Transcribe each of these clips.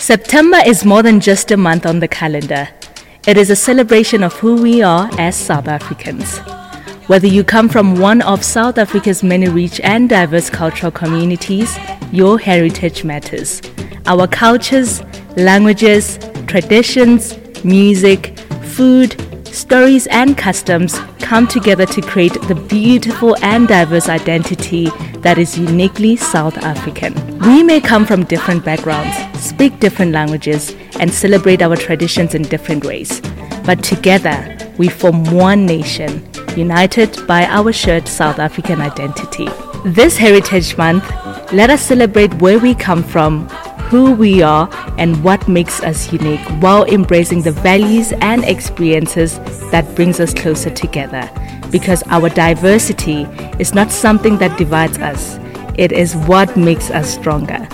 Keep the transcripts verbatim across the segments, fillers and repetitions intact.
September is more than just a month on the calendar. It is a celebration of who we are as South Africans. Whether you come from one of South Africa's many rich and diverse cultural communities, your heritage matters. Our cultures, languages, traditions, music, food, stories, and customs come together to create the beautiful and diverse identity that is uniquely South African. We may come from different backgrounds, speak different languages, and celebrate our traditions in different ways. But together, we form one nation, united by our shared South African identity. This Heritage Month, let us celebrate where we come from, who we are, and what makes us unique while embracing the values and experiences that brings us closer together. Because our diversity is not something that divides us, it is what makes us stronger.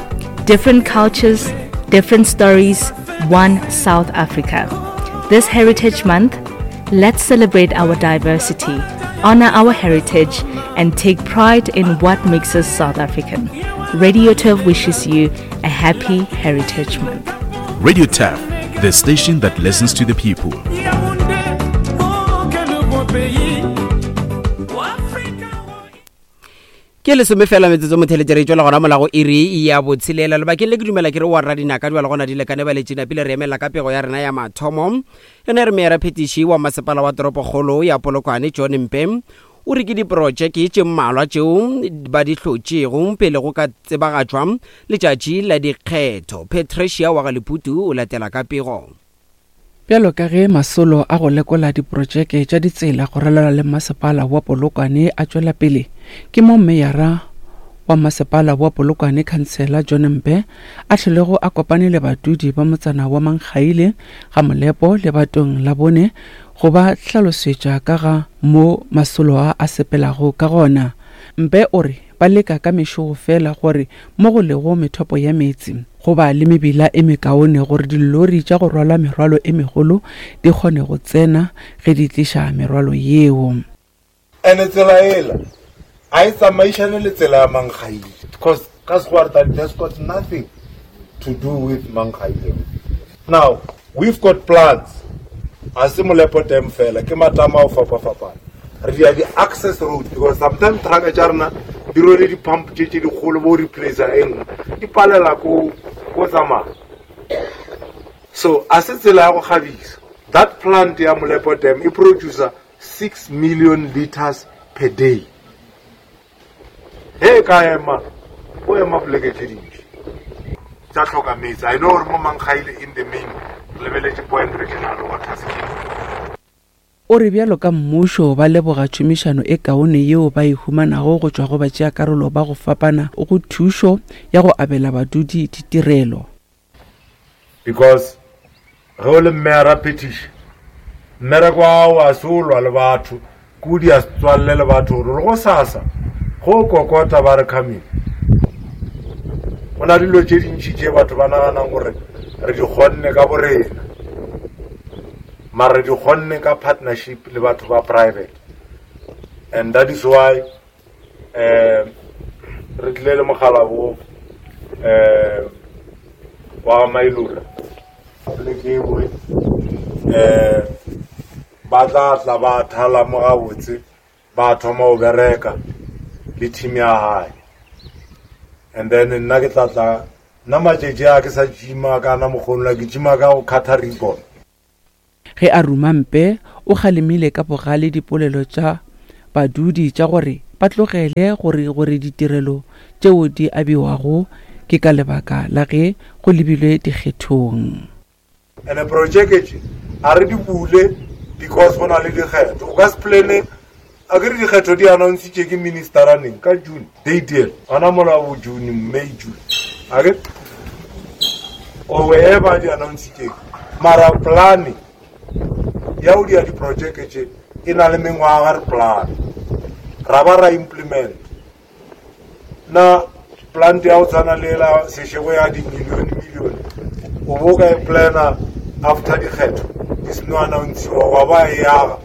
Different cultures, different stories, one South Africa. This Heritage Month, let's celebrate our diversity, honor our heritage, and take pride in what makes us South African. Radio Turf wishes you a happy Heritage Month. Radio Turf, the station that listens to the people. Ke lesome fela metsotso motheletše re tšwela gona molago iri ya botshelela lebakeng le ke dumela ke re wa rra dinaka di ba le gona di lekane ba letšena pele re emela ka pego ya rena ya mathomo yona re meyara phetiši wa masepala wa toropokgolo ya Polokwane John Mpe o re ke diprojeke tše mmalwa tšeo ba di hlotšego pele go ka tsebagatšwa letšatši la dikgetho. Patricia wa Galeputu o latela ka pego. Bjalo ka ge masolo a go lekola diprojeke tša ditsela go ralala le masepala wa Polokwane a tšwela pele, ke mo meyara wa masepala wa Polokwane Councillor John Mpe a hlolego a kopane le badudi ba motsana wa Mankgaile ga Molepo le batong la bone go ba hlalosetša ka ga mo masolo a a sepelago ka gona. Mpe o re ba leka ka mešogo fela gore mo go lego methopo ya meetse goba le mebila e mekaone gore dilori tša go rwala merwalo e megolo di kgone go tsena ge di tliša merwalo yeo. Ene tsela ela a e tsamaišane le tsela ya Mankgaile because ka Sekgowa that has got nothing to do with Mankgaile. Now we've got plans a se Molepo Dam fela ke matama a go fapafapana. Re dia di-access road because sometimes trucka tša rena di rwele di-pump tše tše dikgolo bo replacer e nngwe di palela ko ko tsamaya. So a se tsela ya go kgabisa. That plant ya Molepo Dam e producer six million liters per day. Ge e ka ema o ema poleke tše dintši tša hloka metsi. I know gore mo Mankgaile in the main re lebeletše Point Regional Water Scheme. O re bjalo ka mmušo ba leboga tšhomišano e kaone yeo ba e humanago go tšwa go batšeakarolo ba go fapana go thušo ya go abela badudi ditirelo. Because ge o le mmeyara phetiši, mmereko wa gago a se o lwa le batho, ke o dia setswalle le batho gore le go sasa go kokota ba re coming. Go na dilo tše dintši tše batho ba naganang gore re di kgonne ka borena, mara re di kgonne ka partnership le batho ba private, and that is why um re tlile le mogala bo um wa Mailura poleke engwe um ba tla tla ba thala mo gabotse ba thoma go bereka le team ya hae. And then nna ke tla tla nna matšatši a ke sa gima kana mokgonola ke gima ka go cutter ribbon. Ge a ruma Mpe o kgalemile ka bogale dipolelo tša badudi tša gore ba tlogele gore gore ditirelo tšeo di abiwago ke ka lebaka la ge go lebilwe dikgethong. Ene projeke tše a re di bule because go na le dikgetho. O ka se plane a ke re dikgetho di announcitše ke ministera neng ka June date ela gona mola bo June May June a ke or wherever di announcitšeng, mara plane ya go dia diprojeke tše e na le mengwaga re plan ra ba ra implement. Na plant ya go tshwana le la sešego ya di-million million o bo ka e plana after dikgetho di seno annountsiwa wa ba e aga.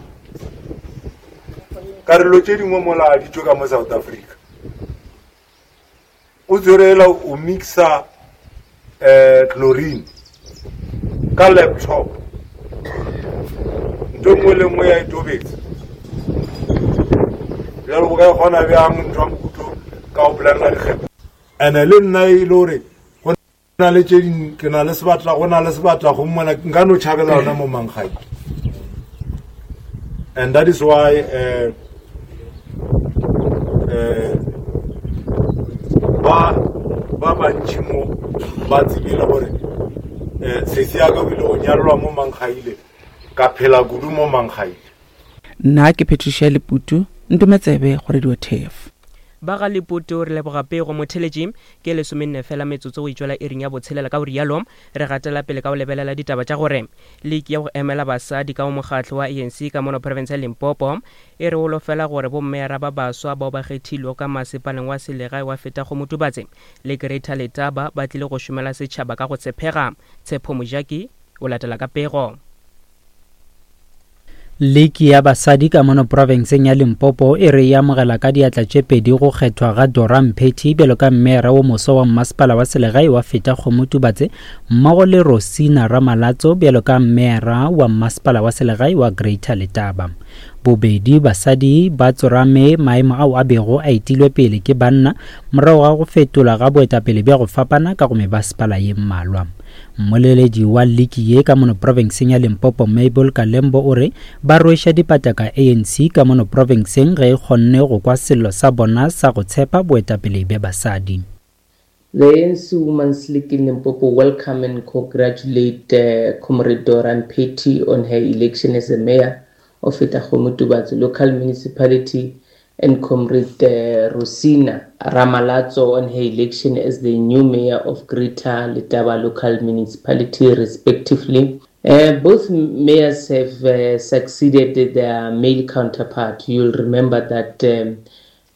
Karolo tše dingwe mola di tšwe ka mo South Africa o tswerela o mixa um chlorine Ka laptop. Ntho nngwe le nngwe ya e tobetsa. Bjalo o ka e kgona bjang ntho ya mohuto ka go planela dikgetho. And-e le nna e le gore go na le tše ding ke na le sebatla go na le sebatla go mona nka no tšhabela yona mo Mankgaile. And that is why uh, uh, ba ba bantši mo ba tsebile gore um sesi ya ka o ile go nyalelwa mo Mankgaile ka phela kudu mo Mankgaile. Nna ke Patricia Leputu, ntometsebe go Radio T F. Ba ga Leputu, re leboga pego. Motheletši, ke lesomenne fela metsotso go itšwela iring ya botshelela. Ka go rialo re gatela pele ka go lebelela ditaba tša gore liki ya go emela basadi ka go mokgatlo wa A N C ka mono province ya Limpopo e re holofela gore bommeyara ba baswa bao ba kgethilwego ka masepaleng wa selegae wa Fetakgomo Tubatse le Greater Letaba ba tlile go šomela setšhaba ka go tshepega. Tshepo Mojaki o latela ka pego. Liki ya basadi ka mono profenseng ya Limpopo e re e amogela ka diatla tše pedi go kgethwa ga Dora Mphethi bjalo ka mmeyara wo moswa wa mmasepala wa selegae wa Fetakgomo Tubatse mmogo le Rosina Ramalatso bjalo ka mmeyara wa mmasepala wa selegae wa Greater Letaba. Bobedi basadi ba tsorame maemo ao a bego a etilwe pele ke banna morago ga go fetolwa ga boetapele bja go fapana ka go mebasepala ye mmalwa. Mmoleledi wa liki ye ka mono profenseng ya Limpopo, Mabel Kalembo, o re ba rweša dipataka A N C ka mono profenseng ge e kgonne go kwa sello sa bona sa go tshepa boetapele bja basadi. The A N C Women's League in Limpopo welcome and congratulate uh, Comrade Dora Mphethi on her election as the mayor of Fetakgomo Tubatse local municipality and Comrade uh, Rosina Ramalatso on her election as the new mayor of Greater Letaba local municipality, respectively. Uh, both mayors have uh, succeeded their male counterpart. You'll remember that um,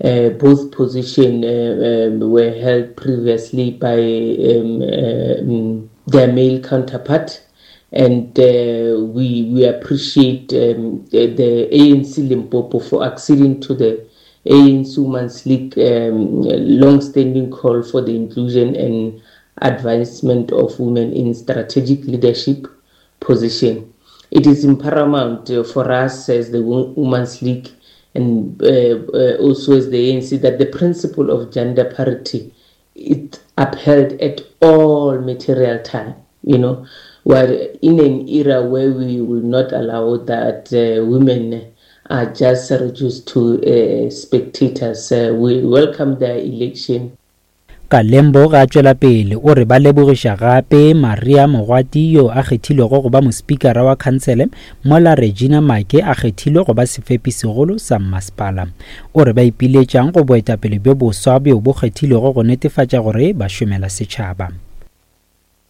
uh, both positions uh, um, were held previously by um, um, their male counterpart, and uh, we we appreciate um, the, the A N C Limpopo for acceding to the A N C Women's League um, long-standing call for the inclusion and advancement of women in strategic leadership position. It is paramount uh, for us as the Women's League and uh, uh, also as the A N C that the principle of gender parity it upheld at all material time. You know, we're in an era where we will not allow that uh, women are just reduced to uh, spectators. Uh, we welcome their election. Kalembo ga a tšwela pele o re ba lebogiša gape Maria Mogwati yo a kgethilwego go ba mospikara wa khansele mola Regina Make a kgethilwe go ba sefepi segolo sa mmasepala. O re ba ipiletšang go boetapele bjo boswa bjo bo kgethilwego go netefatša gore ba šomela setšhaba.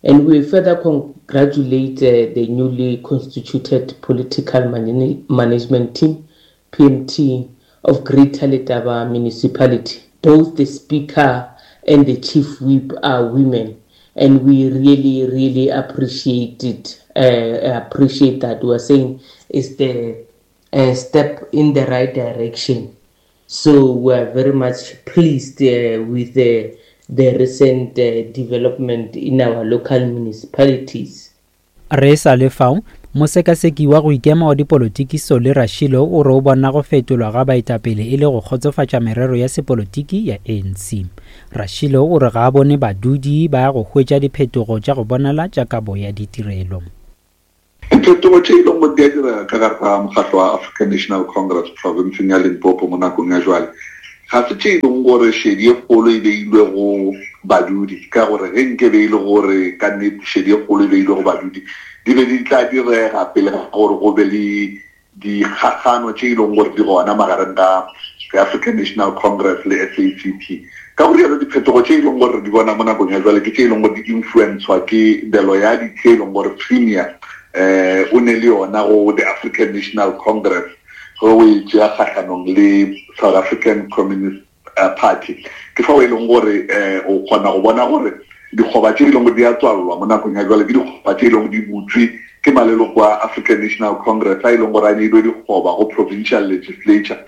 And we further congratulate uh, the newly constituted political man- management team, P M T, of Greater Letaba Municipality. Both the Speaker and the Chief Whip are women, and we really, really appreciate it. Uh, appreciate that. We are saying it's the uh, step in the right direction. So we are very much pleased uh, with the the recent uh, development in our local municipalities. Re sa le fao, mosekaseki wa go ikema wa dipolotiki Solly Rashilo o re o bona go fetolwa ga baetapele e le go kgotsofatša merero ya sepolotiki ya A N C. Rashilo o re ga a bone badudi ba go hwetša diphetogo tša go bonala tša kabo ya ditirelo. Diphetogo tše e leng gore di a direga ka gare ga mokgatlo wa African National Congress provinceng ya Limpopo mo nakong ya jwale ga se tše e leng gore šedi e kgolo e beilwe go badudi, ka gore ge nke be e le gore ka nnete šedi e kgolo e beilwe go badudi, di be di tla direga pele ga gore go be le dikgagano tše e leng gore di gona magareng ga the African National Congress le S A C P. Ka go rialo, diphetogo tše e leng gore di bona mo nakong ya jwale ke tše e leng gore di influencwa ke the loyalty e leng gore premier eh o ne le yona go the African National Congress ge o e tšea kgahlanong le South African Communist uh, Party. Ke fao e leng gore um o kgona go bona gore dikgoba tše e leng gore di a tswalelwa mo nakong ya jwale ke dikgoba tše e leng gore di butswe ke maleloko a African National Congress a e leng gore a neilwe dikgoba go provincial legislature.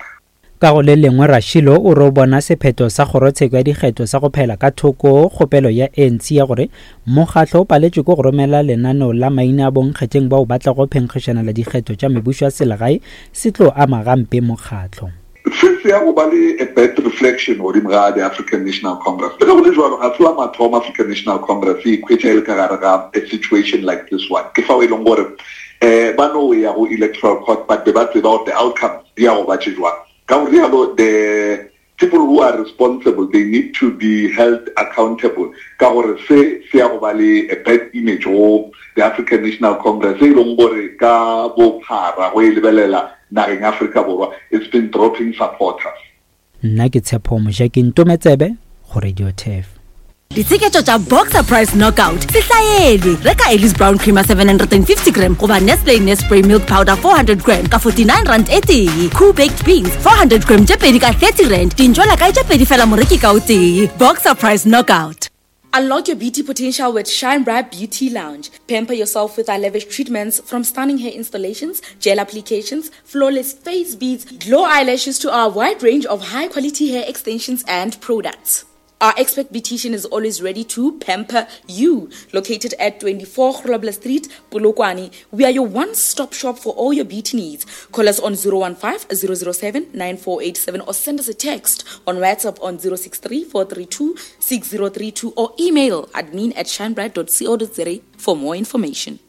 Ka go le lengwe Rašilo o re o bona sephetho sa kgorotsheko ya dikgetho sa go phela ka thoko kgopelo ya A N C ya gore mokgatlo o paletšwe ke go romela lenaneo la maina a bonkgetheng bao ba tlago phenkgišanela dikgetho tša mebušo ya selegae se tlo ama gampe mokgatlo. Se se ya go ba le a bad reflection godimo ga the African National Congress. Le ge go le jwalo, ga se la mathomo African National Congress e ikhwetša e le ka gare ga a situation like this one. Ke fao e leng gore um ba no ya go electoral court, but be ba tseba gore the outcomes di ya go ba tše jwang. Ka go rialo, the people who are responsible, they need to be held accountable. Ka gore se se ya go ba le a bad image go the African National Congress, e leng gore ka bophara go e lebelela nageng Afrika Borwa, it's been dropping supporters. Nna ke Tshepo Mojaki Ntometsebe go Radio Turf. Ditsheketšo tša Boxer Price Knockout se hlaelwe. Reka Ellis Brown Creamer seven hundred and fifty gram goba Nestle Nespray Milk Powder four hundred gram ka forty-nine rand e tee. Cool Baked Beans four hundred gram tše pedi ka thirty rand. Dintšwela kae tše pedi fela moreki ka o tee. Boxer Price Knockout. Unlock your beauty potential with Shine Bright Beauty Lounge. Pamper yourself with our lavish treatments, from stunning hair installations, gel applications, flawless face beads, glow eyelashes to our wide range of high-quality hair extensions and products. Our expert beautician is always ready to pamper you. Located at twenty-four Grobler Street, Polokwane, we are your one-stop shop for all your beauty needs. Call us on zero one five, zero zero seven, nine four eight seven or send us a text on WhatsApp on zero six three, four three two, six zero three two or email admin at shinebright dot co dot za for more information.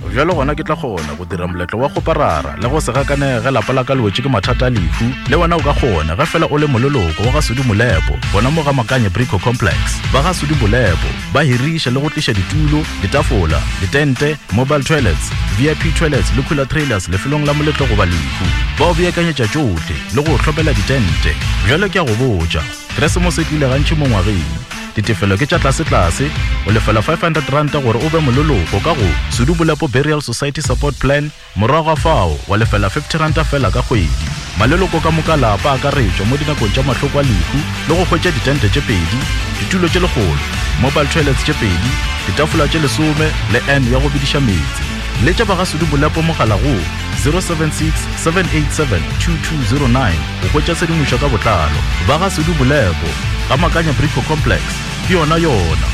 Bjalo gona ke tla kgona go dira moletlo wa go parara le go se gakanege lapa la ka le wetše ke mathata a lehu. Le wena o ka kgona ge fela o le moleloko wa ga Sudi Molepo, gona mo ga Makanye Brico Complex. Ba ga Sudi Molepo ba hiriša le go tliša ditulo, ditafola, ditente, mobile toilets, V I P toilets le cooler trailers lefelong la moletlo goba lehu. Ba o beakanyetša tšohle le go hlopela ditente. Bjalo ke a go botša, Keresemose e tlile gantši mo ngwageng. Ditefelo ke tša tlase-tlase, o lefela five hundred rand gore o be moleloko ka go Sudi Molepo Burial Society Support Plan, morago ga fao wa lefela fifty rand fela ka kgwedi. Maleloko ka moka lapa a akaretšwa mo dinakong tša mahloko a lehu le go hwetša ditente tše pedi, ditulo tše lekgolo, mobile toilets tše pedi, ditafola tše lesome le N ya go bediša meetse. Letša ba ga Sudi Molepo mogala go zero seven six, seven eight seven, two two zero nine go hwetša tshedimošo ka botlalo. Ba ga Sudi Molepo, ga Makanya Brico Complex, ke yona yona.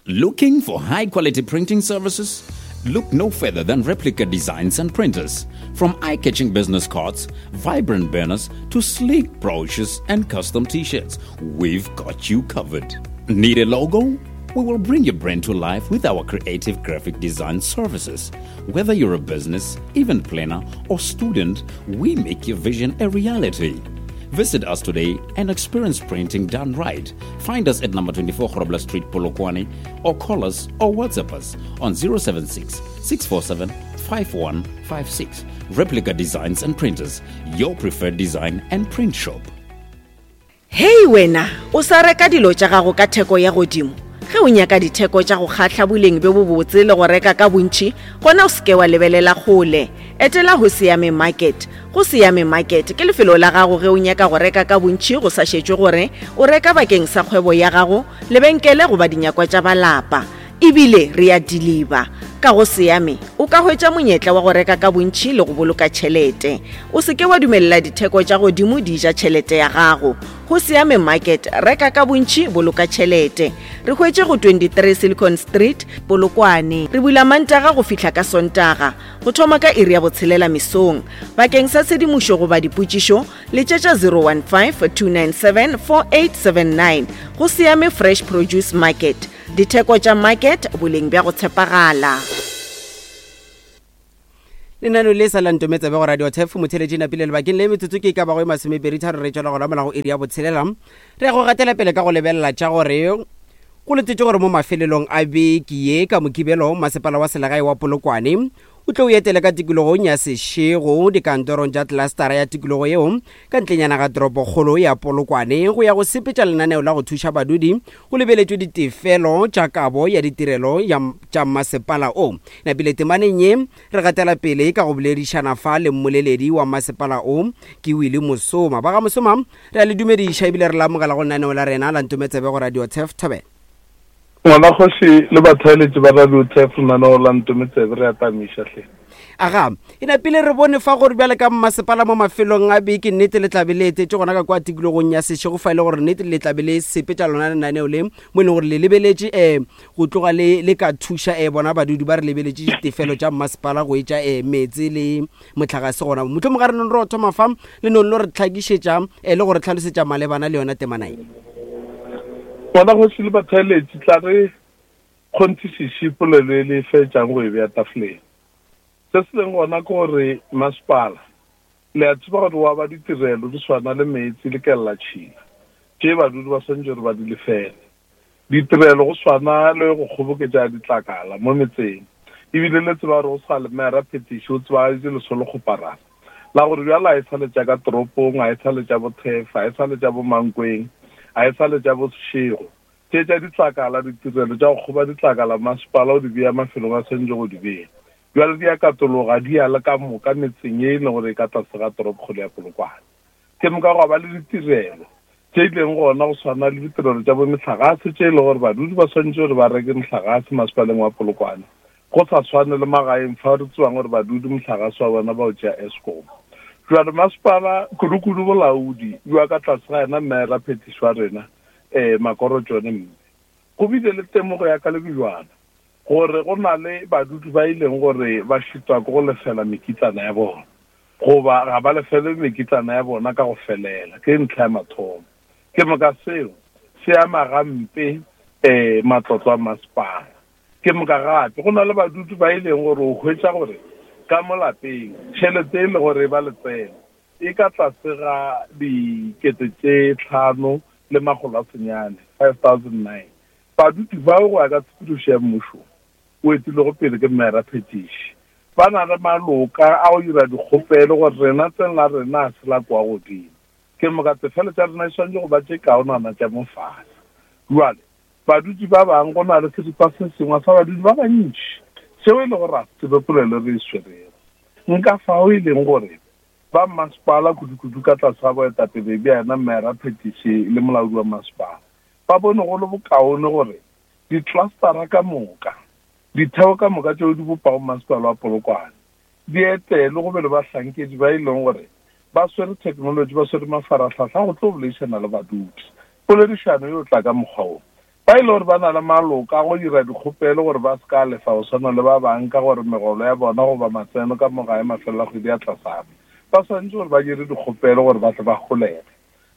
Looking for high-quality printing services? Look no further than Replica Designs and Printers. From eye-catching business cards, vibrant banners, to sleek brochures and custom t-shirts, we've got you covered. Need a logo? We will bring your brand to life with our creative graphic design services. Whether you're a business, event planner, or student, we make your vision a reality. Visit us today and experience printing done right. Find us at number twenty-four Grobler Street, Polokwane, or call us or WhatsApp us on zero seven six, six four seven, five one five six. Replica Designs and Printers, your preferred design and print shop. Hey wena, o sa reka dilo tša gago ka theko ya godimo. Ge o nyaka ditheko tša go kgahla boleng bjo bobotse le go reka ka bontši, gona o seke wa lebelela kgole. Etela go Siame Market. Go Siame Market ke lefelo la gago ge o nyaka go reka ka bontši go sa šetšwe gore o reka bakeng sa kgwebo ya gago, lebenkele goba dinyakwa tša ba lapa. Ebile re a deliver. Ka go Siame o ka hwetša monyetla wa go reka ka bontši le go boloka tšhelete. O seke wa dumelela ditheko tša godimo di ja tšhelete ya gago. Go Siame Market, reka ka bontši, boloka tšhelete. Re hwetše go twenty-three Silicon Street, Polokwane. Re bula Mantaga go fihla ka Sontaga, go thoma ka iri ya botshelela mesong. Bakeng sa tshedimošo goba dipotšišo, letšetša zero one five, two nine seven, four eight seven nine. Go Siame Fresh Produce Market. Ditheko tša market, boleng bja go tshepagala. Lenaneo le sa la Ntometsebe go Radio Turf, motheletši napile lebakeng le metsotso ke e ka bago e masomepedi tharo re tšwela gona morago iri ya botshelela. Re ya go gatela pele ka go lebelela tša gore go letetše gore mo mafelelong a beke ye ka Mokibelo, masepala wa selegae wa Polokwane o tlo o etele ka tikologong ya Seshego dikantorong tša clustera ya tikologo yeo ka ntlenyana ga toropokgolo ya Polokwane go ya go sepetša lenaneo la go thuša badudi go lebeletšwe ditefelo tša kabo ya ditirelo ya tša masepala o. Napile temaneng ye re gatela pele ka go boledišana fa le mmoleledi wa masepala o ke Willie Mosoma. Ba ga Mosoma, re a le dumediša ebile re la amogela go lenaneo la rena la Ntometsebe go Radio Turf. Thobela. Ngwana kgoši le batheeletši ba Radio Turf, lenaneo la Ntometsebe re a tamiša hle. Aga e napile re bone fa gore bjale ka mmasepala mo mafelong a beke nnete le tlabe le etetše gona ka kwa tikologong ya Seshego, fa e le gore nnete le tlabe le sepetša lona lenaneo le mo e leng gore le lebeletše um go tloga le le ka thuša um bona badudi ba re lebeletše ditefelo tša mmasepala go etša um meetse le motlakase gona. Mohlomong ga re nong re o thoma fa le nong lo re tlhakišetša um le go re tlhalosetša malebana le yona temana ye. Ngwana kgoši le batheeletši, tla re kgonthišiše polelo e le fetšang go e bea tafoleng. Se se leng gona ke gore masepala le a tseba gore wa ba ditirelo di swana le meetse le kelelatšhila tše badudi ba swanetše gore ba di lefele. Ditirelo go swana le go kgoboketša ditlakala mo metseng, ebile le tseba gore go sa le mera phetiši o tsebagaditše lesolo kgoparara la gore bjale a e sa le tša ka toropong, a e sa le tša Bothefa, a e sa le tša bo Mankweng, a e sa le tša bo Seshego. Tše tša ditlakala, ditirelo tša go kgoba ditlakala masepala o di bea mafelong a swanetše go di bea. Bjale di a katologa di ya le ka moka metseng ye e leng gore e ka tlase ga toropokgolo ya Polokwane. Ke moka go ba le ditirelo tše e leng gona go swana le ditirelo tša bo mehlagase tše e leng gore badudi ba swanetše gore ba reke mohlagase masepaleng wa Polokwane, go sa swane le magaeng fa re tsebang gore badudi mohlagase wa bona ba o tšea Eskom. Jwale masepala kudu-kudu bolaodi bja ka tlase ga yena mera phetiši wa rena um Makoro John mme go bile le temogo ya ka lebijwana gore go na le badudi ba e leng gore ba šitwa ke go lefela mekitlana ya bona goba ga ba lefele mekitlana ya bona ka go felela. Ke ntlha ya mathomo. Ke moka seo se ama gampe um matlotlo a masepala. Ke moka gape go na le badudi ba e leng gore o hwetša gore ka mo lapeng tšhelete e le gore ba letseno e ka tlase ga dikete tše tlhano le makgolo a senyane, five thousand nine. Badudi bao go ya ka tshepedišo ya mmušo o etilego pele ke mera phetiši ba na le maloka a go dira dikgopelo gore rena tseng la rena a se la kwa godimo. Ke moka tefelo tša rena e swanetše go ba tše kaonana tša mo fase. Jwale badudi ba bangwe go na le seripa se sengwe sa badudi ba bantši seo e le gore a se tsebe polelo re e swerego. Nka fao e leng gore ba masepala kudu-kudu ka tlase ga boetapele bja yena mera phetiši le molaodi wa masepala ba bone go le bokaone gore ditlastara ka moka, ditheo ka moka tšeo di bopago masepala wa Polokwane di etele go be le bahlankedi ba e leng gore ba swere technology, ba swere mafarahlahla go tlo boledišana le badudi. Poledišano yo tla ka mokgwa wo ba e le gore ba na le maloka a go dira dikgopelo gore ba se ka lefa go swana le ba bang ka gore megolo ya bona goba matseno ka moga ya mafelo a kgwedi ya tlasana, ba swanetše gore ba dire dikgopelo gore ba tle ba holege.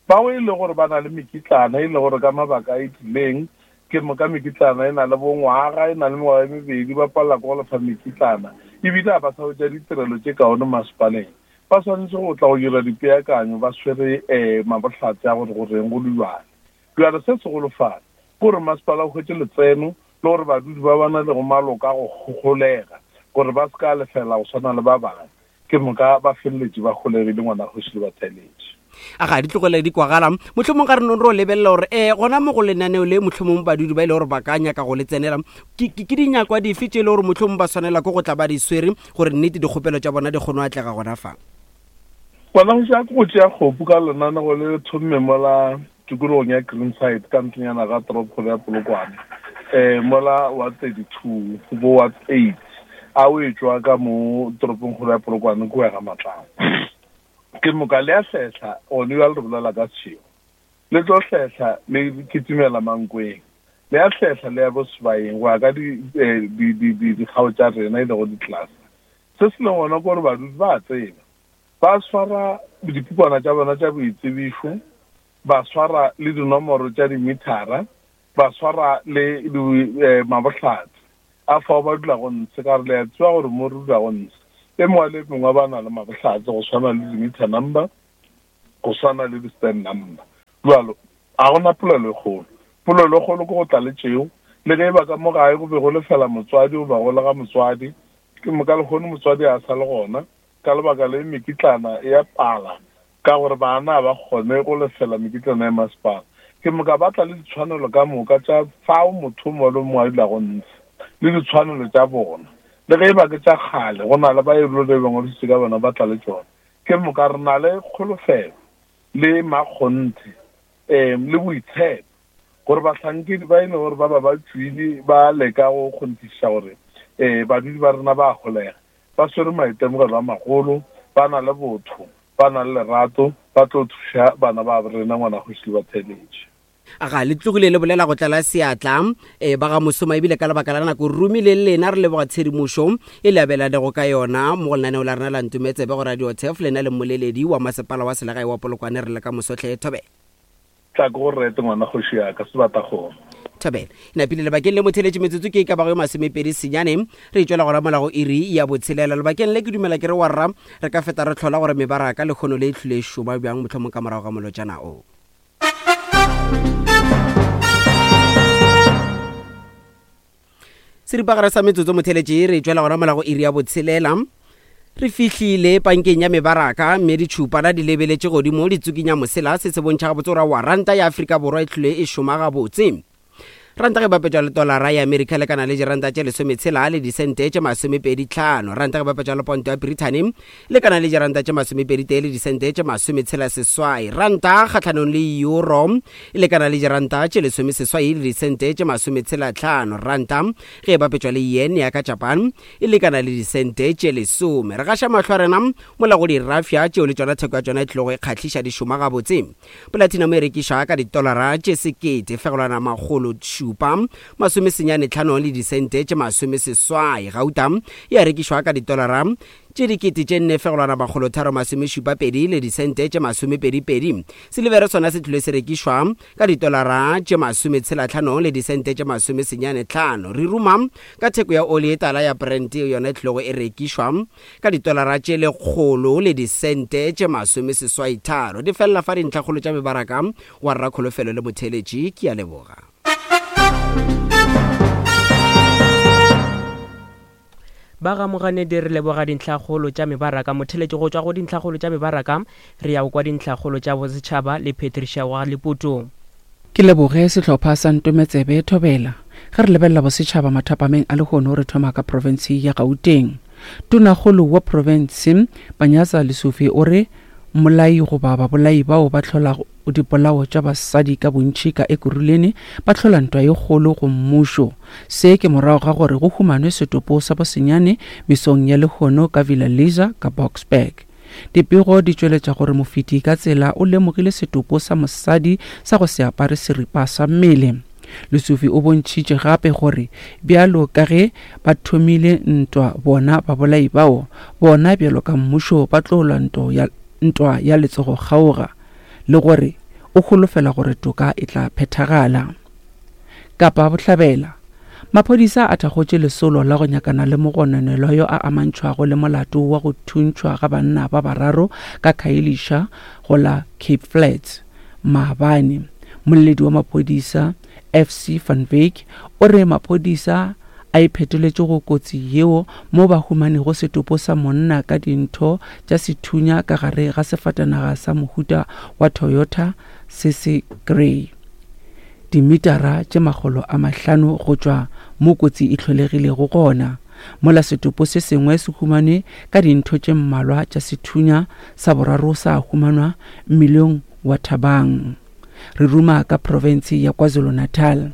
Bao e le gore ba na le mekitlana e le gore ka mabaka a itlileng ke moka mekitlana e na le bongwaga e na le mengwaga e mebedi ba palela ke go lefa mekitlana ebile ga ba sa hwetša ditirelo tše kaone masepaleng, ba swanetše go tla go dira dipeakanyo ba swere um mabohlatse a gore goreng go le bjale. Bjale se segolofale ke gore masepala o hwetše letseno le gore badudi ba ba na lego maloka go golega gore ba se ka lefela go swana le ba bangwe, ke moka ba feleletše ba golegile ngwana kgoši le batheeletši. A ga di tlogele di kwagala. Mohlomong ga re nong re o lebelela gore um gona mo go lenaneo le mohlomong badudi ba e le gore ba ka nyaka go le tsenela ke dinyakwa dife tše e le gore mohlomong ba swanela ke go tla ba di swere gore nnete dikgopelo tša bona di kgone go atlega gona fa. Ngwana kgoši a ke go tšea kgopu ka lenanego le thomme mola tikologong ya Greenside ka ntlenyana ga toropokgolo ya Polokwane um mola wa thirty-two bo wa eight a o e tšwa ka mo toropongkgolo ya Polokwane ko ya ga Matlamo. Ke moka le a hlehla one bjale re bolela ka Seshego, le tlo hlehla le kitimela Mankweng, le a hlehla le ya bo Sebayeng go ya ka dikgao tša rena e lego di-cluster. Se se leng gona ke gore badudi ba a tseba, ba swara dipukwana tša bona tša boitsebišo, ba swara le dinomoro tša dimithara, ba swara le mabohlatse a fao ba dulago ntshe ka gore le a tseba gore mo re dulago ntshe e mongwe le mongwe ba na le mabohlatse go swana le di-meter number, go swana le di-stand number. Jwalo ga gona polelo e kgolo. Polelo e kgolo ke go tla le tšeo le ge e ba ka mo gae go be go lefela motswadi goba go lega motswadi, ke moka lekgono motswadi a sa le gona ka lebaka le mekitlana ya pala ka gore bana ba kgone go lefela mekitlana ya masepala. Ke moka ba tla le ditshwanelo ka moka tša fao motho mongwe le mongwe a dulago ntshe le ditshwanelo tša bona le ge e ba ke tša kgale go na le ba e le ba ngwadisitse ka bona ba tla le tšona. Ke moka re na le kgolofelo le makgonthe um le boitshepo gore bahlankedi ba e leng gore ba ba ba tšwile ba leka go kgonthišiša gore um badudi ba rena ba holega Ba swere maitemogelo a magolo, ba na le botho, ba na le lerato, ba tlo thuša bana ba rena ngwana kgoši le batheeletši. Aga le tlogile le bolela go tlala seatla e ba ga mosoma ebile ka lebaka la nako romile le lena re leboga tshedimošo e le abelanego ka yona mo go lenaneo la rena la Ntometsebe go Radio Turf lena le mmoleledi wa masepala wa selegae wa Polokwane re le ka mosotlhe Thobela. Tla ke go rete ngwana kgoši ya ka sebatakgomo. Thobela. Napile lebakeng le motheletše metsotso ke e ka bago ye masomepedi senyane re tšwela go ramola go iri ya botshelela. Lebakeng le ke dumela ke re warra re ka feta re hlola gore mebaraka lekgono le e hlile e šoma bjang mohlomong ka morago ga molotšana o. Seripagare sa metsotso motheletše re tšwela gona mola go iri ya botshelela. Re fihlile pankeng ya mebaraka mme ditšhupana di lebeletše godimo di tsukinya mosela. Se se bontšha gabotse gore wa ranta ya Afrika Borwa e hlile e šoma gabotse. Ranta ge bapetšwa le tolara ya Amerika lekana le diranta tše lesometshela le disente tše masomepedi tlhano. Ranta ge bapetšwa le ponto ya Britain lekana le diranta tše masomepedi tee le disente tše masometshela seswai. Ranta kgahlanong le euro lekana le diranta tše lesomeseswai le disente tše masometshela tlhano. Ranta ge bapetšwa le yen ya ka Japan e lekana le disente tše lesome. Re gaša mahlo a rena mola go dirafša tšeo le tšona theko ya tšona e tlogo e kgahliša di šoma gabotse. Platinum e rekišwa ka ditolara tše sekete fegelwana makgolo šupa masome senyane tlhano le disente tše masome seswai. Gauta e a rekišwa ka ditolara tše dikete tše nne fegelwana makgolo tharo masome šupa pedi le disente tše masomepedi pedi. Silivere sona se tlile se rekišwa ka ditolara tše masome tshela tlhano le disente tše masome senyane tlhano. Re ruma ka theko ya oli e tala ya Brent yona e tlilego e rekišwa ka ditolara tše lekgolo le disente tše masome seswai tharo. Di felela fa dintlhakgolo tša mebaraka wa Rrakholofelo le motheeletši. Ke a leboga. Ba ga Moganedi re leboga dintlhakgolo tša mebaraka. Motheletši go tšwa go dintlhakgolo tša mebaraka re ya go kwa dintlhakgolo tša bosetšhaba le Patricia wa Leputo. Ke leboge sehlopha sa Ntometsebe Thobela. Ge re lebelela bosetšhaba mathapameng a lehono re thoma ka profense ya Gauteng. Tonakgolo wa profense Panyaza Lesufi o re mmolai goba babolai bao ba hlolago dipolao tša basadi ka bontši ka Ekurhuleni ba hlola ntwa ye kgolo go mmušo. Se ke morago ga gore go humanwe setopo sa bosenyane mesong ya lehono ka Villa Liza ka Boksburg. Dipego di tšweletša gore mofeti ka tsela o lemogile setopo sa mosadi sa go se apare seripa sa mmele. Lesufi o bontšhitše gape gore bjalo ka ge ba thomile ntwa bona babolai bao, bona bjalo ka mmušo ba tlo lwa ntwa ya letsogo kgaoga le gore o holofela gore toka e tla phethagala. Kapa Bohlabela, maphodisa a thakgotše lesolo la go nyakana le mogononelwa yo a amantšhwago le molato wa go thuntšhwa ga banna ba bararo ka Khayelitsha go la Cape Flats maabane. Moleledi wa maphodisa F C Van Wyk o re maphodisa a iphetoletše go kotsi yeo mo ba humanego setopo sa monna ka dintho tša sethunya ka gare ga sefatanaga sa mohuta wa Toyota se se grey dimitara tše makgolo a mahlano go tšwa mo kotsi e hlolegilego gona. Mola setopo se sengwe se humanwe ka dintho tše mmalwa tša sethunya sa boraro sa humanwa mmileng wa Thabang. Re ruma ka profense ya KwaZulu-Natal.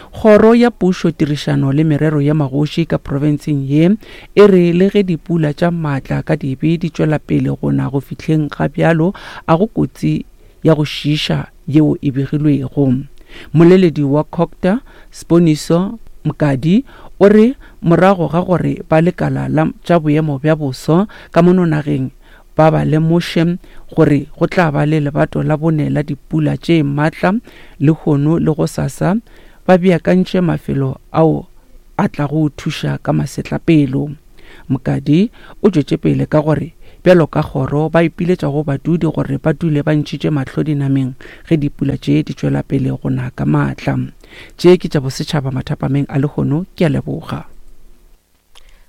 Kgoro ya pušo tirišano le merero ya magoši ka profenseng ye e re le ge dipula tša maatla ka dibe di tšwela pele go na go fihleng ga bjalo a go kotsi ya go šiiša yeo e begilwego. Moleledi wa Cogta Siboniso Mokadi o re morago ga gore ba lekala la tša boemo bja boso ka mono nageng ba ba lemoše gore go tla ba le lebato la bone la dipula tše maatla lehono le gosasa, ba beakantše mafelo ao a tlago thuša ka masetlapelo. Mokadi o tšwetše pele ka gore bjalo ka kgoro ba ipiletša go badudi gore ba dule ba ntšhitše mahlo dinameng ge dipula tše di tšwela pele go na ka maatla. Tše ke tša bosetšhaba mathapameng a lehono. Ke a leboga.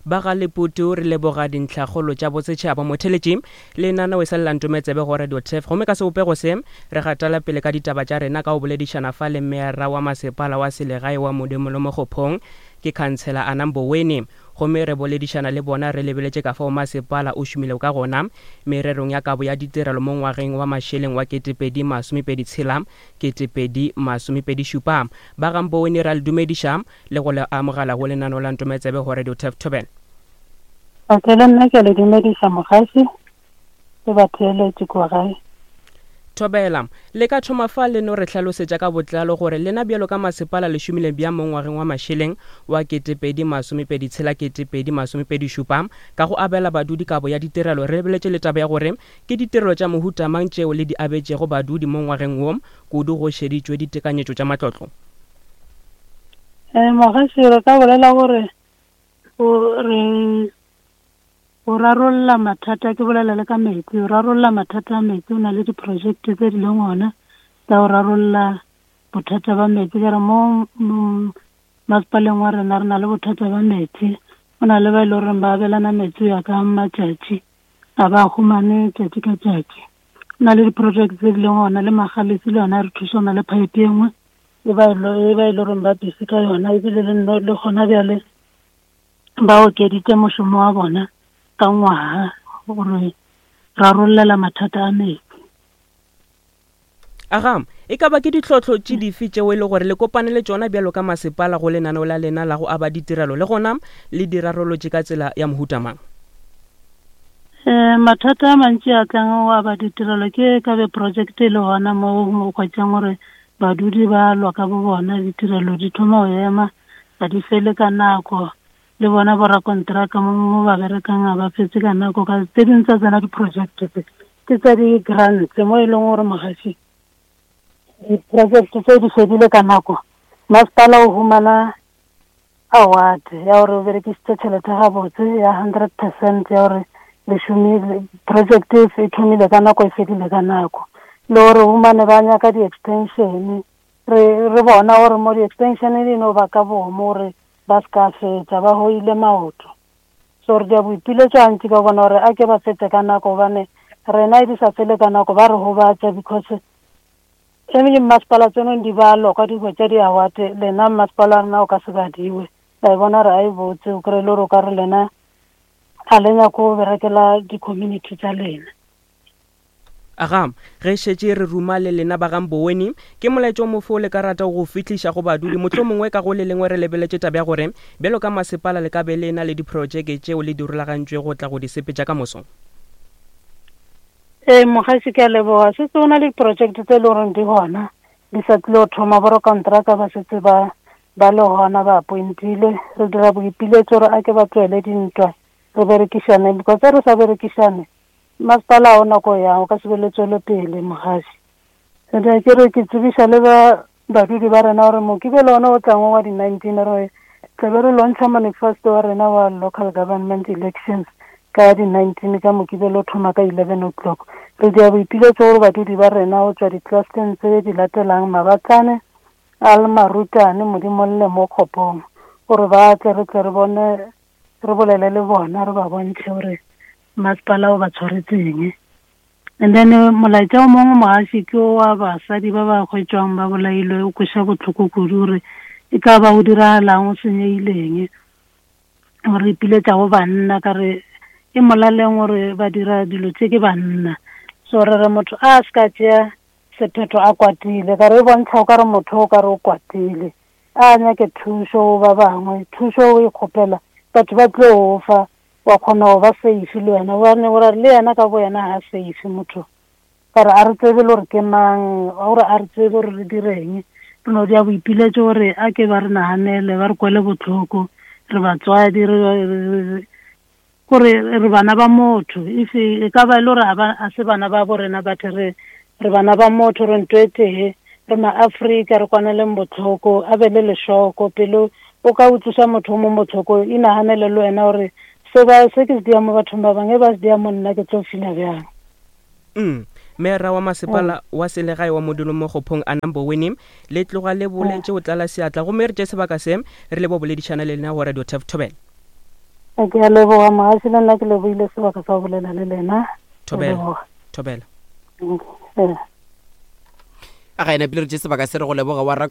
Ba ga Leputu re leboga dintlhakgolo tša bosetšhaba. Motheletši lenaneo e sa le la Ntometsebe go Radio Turf gomme ka sebopego se re gatela pele ka ditaba tša rena ka go boledišana fa le meyara wa masepala wa selegae wa Modimo le Mokgophong ke khansela Anna Mboweni gomme re boledišana le bona re lebeletše ka fao masepala o šomilego ka gona mererong ya kabo ya ditirelo mo ngwageng wa mašeleng wa ketepedi masomepedi tshela ketepedi masomepedi šupa. Ba ga Mboweni ra le dumediša le go le amogela go lenaneo la Ntometsebe go Radio Turf Thobela. Okay, le nna ke a le dumedisa mogaši le batheeletši kua gae. Thobela, le ka thoma fa le no re hlalosetša ka botlalo gore lena bjalo ka masepala le šomile bjang mo ngwageng wa mašeleng wa ketepedi masomepedi tshela ketepedi masomepedi šupa ka go abela badudi kabo ya ditirelo. Re lebeletše le taba ya gore ke ditirelo tša mohuta mang tšeo le di abetšego badudi mo ngwageng wo, kudu go šeditšwe ditekanyetšo tša matlotlo. Eh, mogaši, re ka bolela gore o re o rarolla mathata, ke bolela le ka metsi, o rarolla mathata a metsi, o na le diprojekte tse di leng gona tsa go rarolla bothata ba metsi. Ke re mo masepaleng wa rena re na le bothata ba metsi, go na le ba e le goreng ba abelana metsi go ya ka matšatši, ga ba humane tšatši ka tšatši. Go na le diprojekte tse di leng gona, le Magalesi le yona re thuša, go na le pipe e nngwe e ba e e le goreng ba busy ka yona, ebile le le gona bjale ba okeditše mošomo wa bona ka ngwaga gore rarollela mathata a metsi. Aga, e ka ba ke ditlhohlo tše dife tšeo e le gore le kopane le tšona bjalo ka masepala go lenaneo la lena la go aba ditirelo, le gona le di rarolotše ka tsela ya mohuta mang? Eh, mathata a mantši a tlang go aba ditirelo ke ka be project e le gona mo o hwetšang gore badudi ba lwa ka bo bona, ditirelo di thoma go ema, ga di fele ka nako, le bona borakontraka mo mo ba berekang ga ba fetse ka nako. Ka tse dingwe tsa tsona di-project tse ke tsa di-grants mo e leng gore mogaši di-project tse di fedile ka nako, masepala o humana award ya gore o berekisitse tšhelete gabotse ya hundred percent ya gore le šomile project e thomile ka nako e fedile ka nako. Le gore humane ba nyaka di-extension, re re bona gore mo di-extension di no ba ka bomo gore ba se ka fetša, ba hoile maoto. So re dia boipiletšo gantši ka bona gore a ke ba fetse ka nako, gobane rena e di sa fele ka nako ba re gobatša, because e mengwe mmasepala tseno di balwa ka di hwetša di-award, lena mmasepala wa rena o ka se badiwe. Ba e bona gore a e botse, o kry-e le gore o ka re lena ga le nyake go berekela di-community tsa lena. Aga, ge šetše re ruma le lena ba ga Mboweni, ke molaetša o mofo le ka rata go fihliša go badudi? Mohlomongwe ka go le lengwe re lebeletše taba ya gore bjalo ka masepala le ka be le na le diprojeke tšeo le di rulagantšwe go tla go di sepetša ka moso. Ee, mogaši, ke a leboga. Setse go na le diprojekte tse e le goreng di gona, di sa tlile go thoma, borakontraka ba setse ba ba le gona, ba appointile. Re dira boipiletšo gore a ke ba tlohele dintwa, re berekišane, because ge re sa berekišane masepala o nako yang o ka se be le tswelopele mogaši. Re ke re ke tsebiša le ba badudi ba rena gore Mokibelo ona o tlang wa di-nineteen re tlabe re launcha manifesto wa rena wa local government elections ka di-nineteen ka Mokibelo o thoma ka eleven o'clock. Re dia boipiletšo gore badudi ba rena go tšwa di-clusteng tse di latelang, Mabatlane, Almarutane, Modimolle mo Kgopong, gore ba tle re tle re bone, re bolele le bona, re ba bontšhe gore masepala o ba tshwaretseng. And then molaetša o mongwe mogaši ke wa basadi ba ba hwetšwang ba bolailwe, o kweša bohloko kudu gore e ka ba o diragalang, o senyegileng. Gore ipiletša go banna, ka re e molaleng gore ba dira dilo tše ke banna. So re re motho a se ka tšea sephetho a kwatile, ka re e bontšha o ka re motho o ka re o kwatile, a nyake thušo go ba bangwe, thušo o e kgopela batho ba tlo o fa, wa kgona go ba safe le wena, gobane gore le yena ka bo yena ga safe motho. Ka re a re tsebe le gore ke mang, gore a re tsebe gore re direng. Re no dia boipiletšo gore a ke ba re naganele, ba re kwele bohloko, re batswadi, re gore re bana ba motho. If e ka ba e le gore a se bana ba bo rena, but re re bana ba motho, re ntho e tee, re ma-Afrika, re kwaneleng bohloko, a be le lešoko pele o ka utlwisa motho o mo bohloko, inaganele le wena gore se ba se ke se dia mo bathong ba bangwe, ba se dia mo nna ke tlo feel-a bjang. Mm. Mera wa masepala wa selegae wa Modimo mo Kgopong a Mboweni, le tloga le boletše o tlala seatla, gomme re tše sebaka se re le bo boledišana le lena go Radio Turf Thobela. Ke a leboga mogaši, le nna ke lebohile sebaka sa go bolela le lena. Thobela. Thobela. A ga ena pele re tše sebaka se re go leboga wa